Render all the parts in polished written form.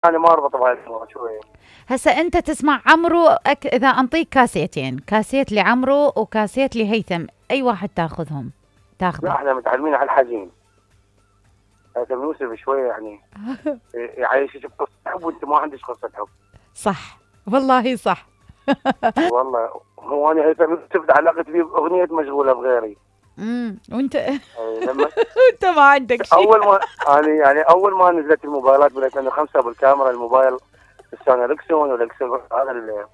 انا ما اربط بهاي الامور شويه. هسا انت تسمع عمرو اذا انطيك كاسيتين، كاسيت لعمرو وكاسيت لهيثم، اي واحد تاخذهم؟ لا تاخذه؟ احنا متعلمين على الحزين. هيثم يوسف شويه يعني يعيشك بقصه حب وانت ما عندك قصه حب. صح، والله صح. والله هو انا هيثم يوسف علاقتي فيه باغنيه مشغوله بغيري. وانت لما انت ما عندك شيء. اول ما يعني اول ما نزلت الموبايلات ب 2005 بالكاميرا الموبايل السوني ريكسون والاكسون هذا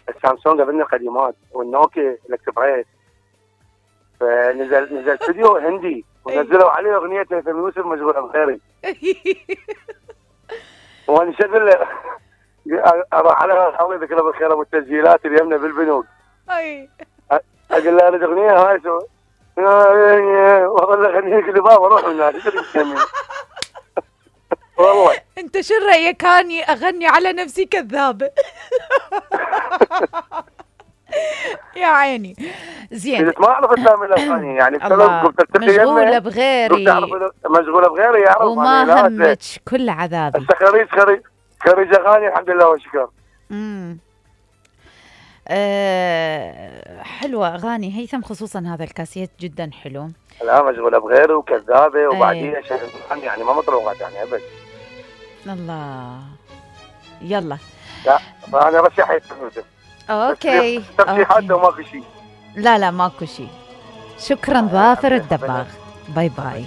السامسونج قبلنا قديمات والنوكيا الاكسبريس. فنزل فيديو هندي ونزلوا عليه اغنيه هيثم يوسف مشغوله بغيري. وانا شغل اروح على الله يذكره بالخير ابو التسجيلات اللي يمنا بالبنوك. اي اقول له اريد اغنيه هاي شو والله اغنيه كل بابا اروح من هناك والله. انت شو رايك اني اغني على نفسي كذابه؟ يا عيني. زين ما اعرف اسامي الاغاني يعني مشغوله بغيري، مشغوله بغيري يعرف وما همك كل عذابي. هسه خريج اغاني الحمد لله والشكر. حلوة أغاني هيثم، خصوصا هذا الكاسيت جدا حلو. لا مشغولة بغيره وكذابة وبعدين يعني ما مطروقات يعني أبد. الله يلا. لا فأنا رشح هيثم يوسف. أوكي ترشيحات وماكو شيء. لا ماكو شيء. شكرا ظافر الدباغ. باي باي.